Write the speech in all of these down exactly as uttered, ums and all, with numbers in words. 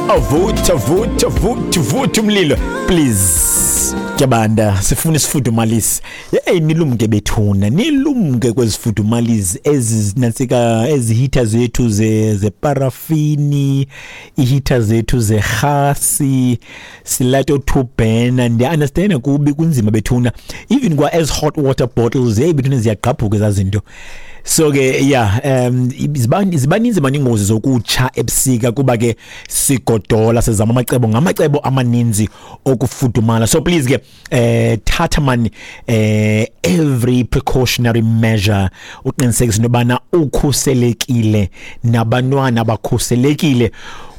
Avutha, vutha, vutha, vutha umlilo, please. Kuyabanda, sifuna isifudumalisi. Hey, nilumke bethuna, nilumke kwezifudumalisi ezinansika, ezihitha zethu ze zeparafini, ihitha zethu zerhasi, silato two burner. Ndiya-understand kubi kunzima bethuna, even kwa as hot water bottles, hey bethuna, ziyagqabhuka ezazinto. So ke yeah, um zibaninzi mani ingozi zokutsha ebusika kuba ke sigodola, sizama amacebo ngamacebo amaninzi okufudumala. So please ke, eh thatha mani eh every precautionary measure uqinisekise into yobana ukhuselekile nabantwana bakhuselekile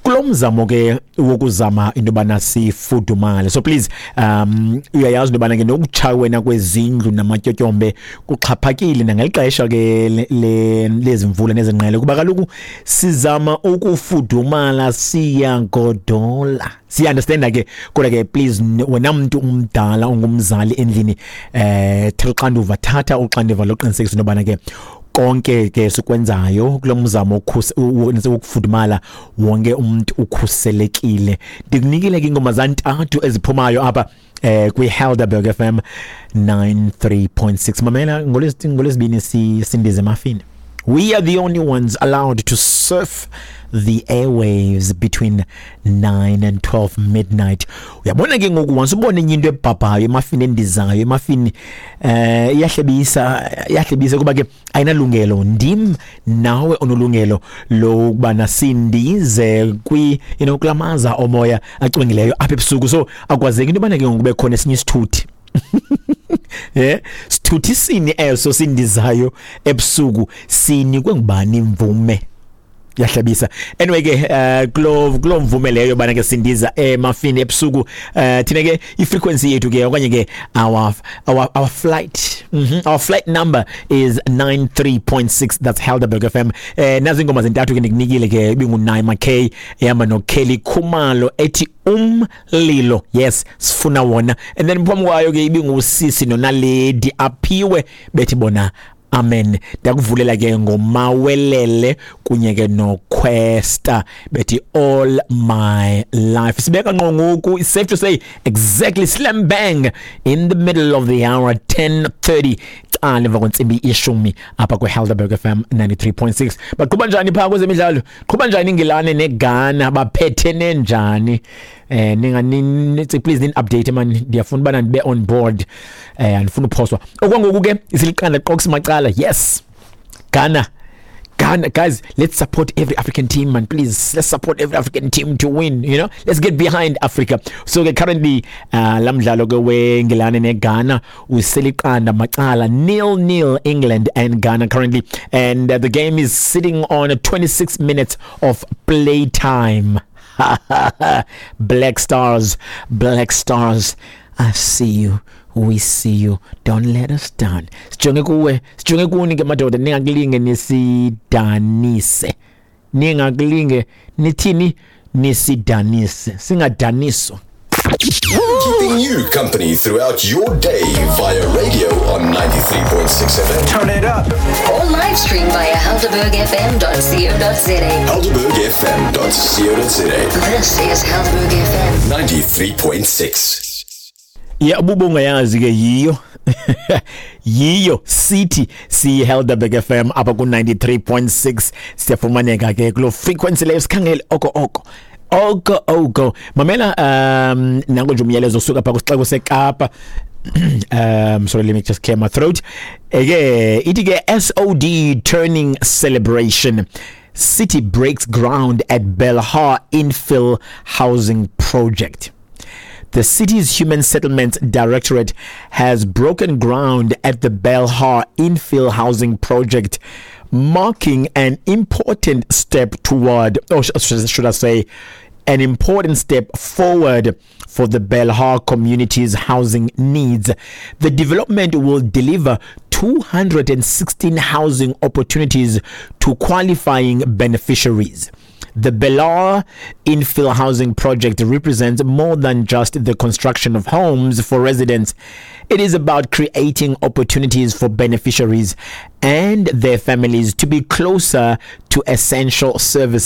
kulo mzamo ke wokuzama into yobana sifudumale. So please, um uyayazi into yobana ke nokutsha wena kwezindlu namatyotyombe kuxhaphakile nangelixesha ke lezimvula nezingqele, kuba kaloku sizama ukufudumala, siyagodola, siya-understanda ke. Kodwa ke please, wena mntu umdala ungumzali endlini, eh thatha uxanduva, thatha uxanduva loqinisekisa into yobana ke konke ke sikwenzayo kulo mzamo wokufudumala, wonke umuntu ukhuselekile. Ndikunikile ke ingoma zantathu eziphumayo apha eh kwi-Helderberg F M ninety-three point six. Mamela, ngolwesibini sindize emafini. We are the only ones allowed to surf the airwaves between nine and twelve midnight. Uyabona ke ngoku, once ubone enye into ebhabhayo emafini, endizayo emafini, eh iyahlebisa, iyahlebisa kuba ke ayinalungelo. Ndim nawe onolungelo lokuba nasindize kwi you know kulamaza omoya acwengileyo apha ebusuku. So akwazeki into yobana ke ngoku kube khona esinye isithuthi, yeah, sithuthi sini eso sindizayo ebusuku, sinikwe ngubani imvume? Yahlabisa. Anyway ke, uh, kulo kulo mvume leyo bana ke sindiza emafini ebusuku, uh, thina ke i-frequency yethu ke, okanye ke our our our flight mm -hmm, our flight number is ninety-three point six. That's Helderberg F M. Eh nazi ingoma zintathu ke ndikunikile ke, ibingu Naima K ehamba no Kelly Khumalo ethi "Umlilo". Yes, sifuna wona. And then phambi kwayo ke ibingusisi noNaledi Aphiwe bethi bona "Amen". Ndakuvulela ke ngoMawelele kunye ke noQuesta bethi "All My Life". Sibeka ngqo ngoku, it's safe to say exactly slam bang in the middle of the hour, ten thirty, cala emva kwentsimbi ishumi, apha kwiHelderberg F M ninety-three point six. Baqhuba njani phaa kwezemidlalo? Qhuba njani iNgilane neGhana? Baphethene njani? eh ninga nithi please nin update man, ndiyafuna ubana ndibe on board, eh andifuna uphoswa. Okwangoku ke isiliqanda qox macala. Yes, Ghana, Ghana, guys, let's support every African team, man. Please, let's support every African team to win. You know, let's get behind Africa. So ke currently, uh, lamdlalo ke weNgilane neGhana useliqanda macala, nil nil, England and Ghana currently, and uh, the game is sitting on twenty-six minutes of play time. Black Stars, Black Stars, I see you. We see you. Don't let us down. Sijonge kuwe, sijonge kuni ke madoda, ningakulinge nisidanise. Ningakulinge nithini, nisidanise. Singadaniswa. Keeping you company throughout your day via radio on ninety-three point six F M. Turn it up. Or live stream via helderberg F M dot co dot za. helderberg F M dot co dot za. This is Helderberg F M. ninety-three point six. Ya, ubungayazi ke, yiyo yiyo sithi si Helderberg F M apha ku ninety-three point six. Siyafumaneka ke kulo frequency leyo, sikhangele oko oko oko oko. Mamela, um nango nje umyalezo osuka pha kwisixeko seKapa. um sorry let me just clear my throat. Eke ithi ke S O D turning celebration, city breaks ground at Belhar infill housing project. The city's Human Settlements Directorate has broken ground at the Belhar infill housing project, marking an important step toward, or should I say, an important step forward for the Belhar community's housing needs. The development will deliver two hundred sixteen housing opportunities to qualifying beneficiaries. The Belhar infill housing project represents more than just the construction of homes for residents. It is about creating opportunities for beneficiaries and their families to be closer to essential services.